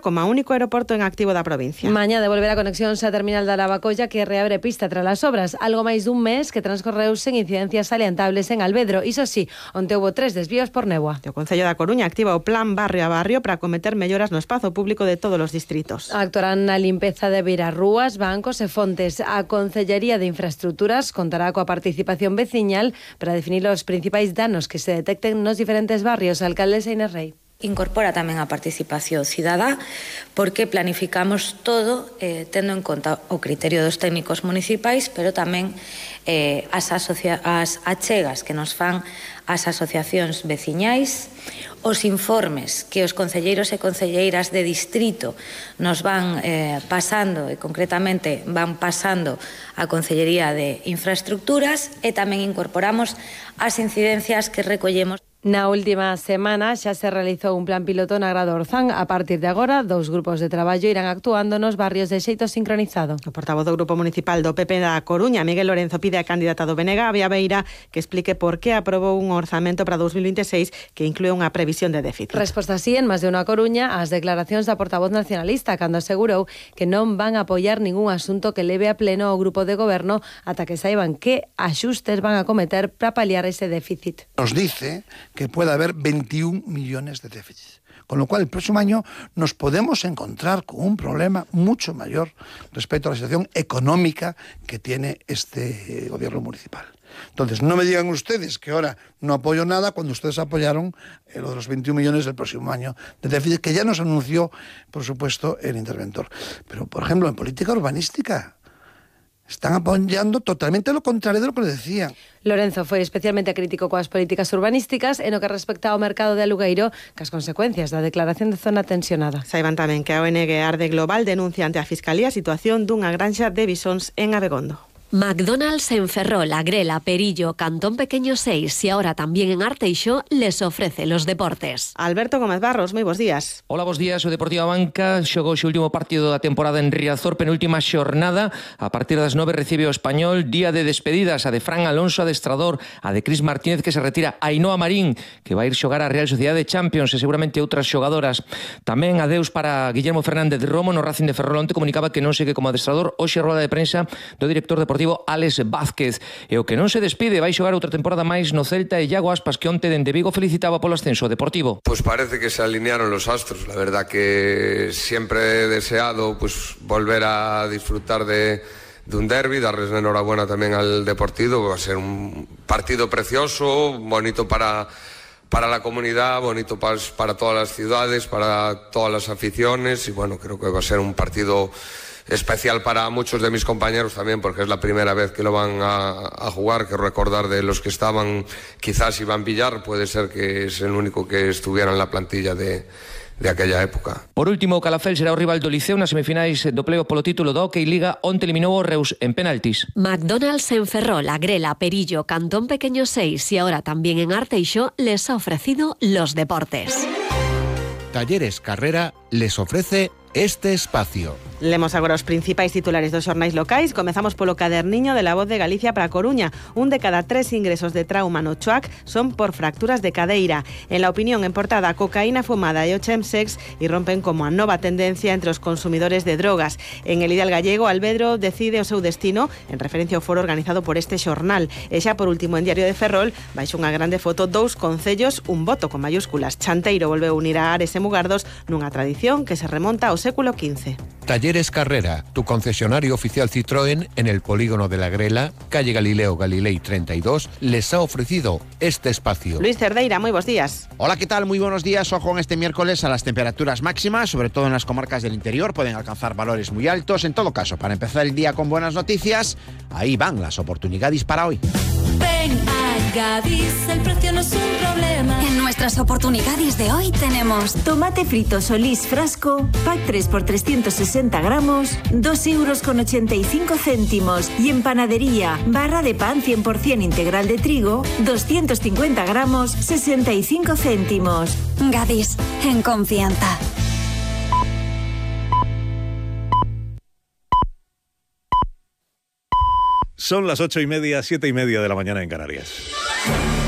como único aeroporto en activo da provincia. Mañá devolver a conexión sa terminal da Lavacolla, que reabre pista tras as obras. Algo máis dun mes que transcorreu sen incidencias salientables en Alvedro. Iso sí, onde houbo 3 desvíos por néboa. O Concello da Coruña activa o plan barrio a barrio para acometer melloras no espazo público de todos os distritos. Actuarán na limpeza de beirarrúas, bancos e fontes. A Concellería de Infraestructuras contará coa participación veciñal para definir os principais danos que se detecten nos diferentes barrios. Alcaldesa Inés Rei. Incorpora tamén a participación cidadá porque planificamos todo tendo en conta o criterio dos técnicos municipais, pero tamén as achegas que nos fan as asociacións veciñais, os informes que os concelleiros e concelleiras de distrito nos van pasando e concretamente van pasando a Concellería de Infraestructuras, e tamén incorporamos as incidencias que recollemos. Na última semana xa se realizou un plan piloto na Grada Orzán. A partir de agora, 2 grupos de traballo irán actuando nos barrios de xeito sincronizado. O portavoz do Grupo Municipal do PP da Coruña, Miguel Lorenzo, pide a candidata do BNG, Avia Beira, que explique por que aprobou un orzamento para 2026 que inclúe unha previsión de déficit. Resposta así en Más de Unha Coruña ás declaracións da portavoz nacionalista, cando asegurou que non van a apoiar ningún asunto que leve a pleno ao grupo de goberno ata que saiban que axustes van a cometer para paliar ese déficit. Nos dice que puede haber 21 millones de déficit. Con lo cual, el próximo año nos podemos encontrar con un problema mucho mayor respecto a la situación económica que tiene este gobierno municipal. Entonces, no me digan ustedes que ahora no apoyo nada cuando ustedes apoyaron lo de los 21 millones del próximo año de déficit, que ya nos anunció, por supuesto, el interventor. Pero, por ejemplo, en política urbanística, están apoyando totalmente lo contrario de lo que le decían. Lorenzo foi especialmente crítico coas políticas urbanísticas e no que respecta ao mercado de alugueiro, que as consecuencias da declaración de zona tensionada. Saiban tamén que a ONG Arde Global denuncia ante a Fiscalía a situación dunha granxa de bisóns en Abegondo. McDonald's en Ferrol, Agrela, Perillo, Cantón Pequeño 6 y ahora también en Arteixo les ofrece los deportes. Alberto Gómez Barros, moi bons días. Hola, bons días. O Deportivo Abanca xogou o último partido da temporada en Riazor, penúltima xornada. A partir das 9 recibe o Español, día de despedidas, a de Fran Alonso, adestrador, a de Cris Martínez, que se retira, a Ainhoa Marín, que vai ir xogar a Real Sociedade Champions e seguramente outras xogadoras. Tamén adeus para Guillermo Fernández de Romo no Racing de Ferrol. Onte comunicaba que non segue como adestrador. Hoxe a rueda de prensa do director deportivo Alex Vázquez. E o que non se despide, vai xogar outra temporada máis no Celta, e Iago Aspas, que onte dende Vigo felicitaba polo ascenso deportivo. Pues parece que se alinearon los astros. La verdad que siempre he deseado pues volver a disfrutar de un derbi, darles la enhorabuena también al Deportivo. Va a ser un partido precioso, bonito para la comunidad, bonito para todas las ciudades, para todas las aficiones, y bueno, creo que va a ser un partido especial para muchos de mis compañeros también, porque es la primera vez que lo van a jugar. Quiero recordar de los que estaban, quizás Iván Villar, puede ser que es el único que estuviera en la plantilla de aquella época. Por último, o Calafell será o rival do Liceo nas semifinais do play-off polo título da Hockey Liga. Onte eliminou o Reus en penaltis. McDonald's en Ferrol, Agrela, Perillo, Cantón Pequeño 6 y ahora también en Arteixo les ha ofrecido los deportes. Talleres Carrera les ofrece este espacio. Lemos agora os principais titulares dos xornais locais. Comezamos polo caderniño de La Voz de Galicia para Coruña. Un de cada 3 ingresos de trauma no Choac son por fracturas de cadeira. En La Opinión, en portada, cocaína fumada e o chemsex irrompen como a nova tendencia entre os consumidores de drogas. En El Ideal Gallego, Alvedro decide o seu destino en referencia ao foro organizado por este xornal. E xa por último, en Diario de Ferrol, baixo unha grande foto, 2 concellos, un voto con mayúsculas. Chanteiro volveu unir a Ares e Mugardos nunha tradición que se remonta ao século XV. Talleres Carrera, tu concesionario oficial Citroën en el polígono de la Grela, calle Galileo Galilei 32, les ha ofrecido este espacio. Luis Cerdeira, muy buenos días. Hola, ¿qué tal? Muy buenos días. Ojo en este miércoles a las temperaturas máximas, sobre todo en las comarcas del interior, pueden alcanzar valores muy altos. En todo caso, para empezar el día con buenas noticias, ahí van las oportunidades para hoy. Ven a Gadis, el precio no es un problema. En nuestras oportunidades de hoy tenemos tomate frito Solís frasco, pack 3 por 360 gramos, 2,85 €. Y en panadería, barra de pan 100% integral de trigo, 250 gramos, 65 céntimos. Gadis, en confianza. Son las 8:30, 7:30 de la mañana en Canarias.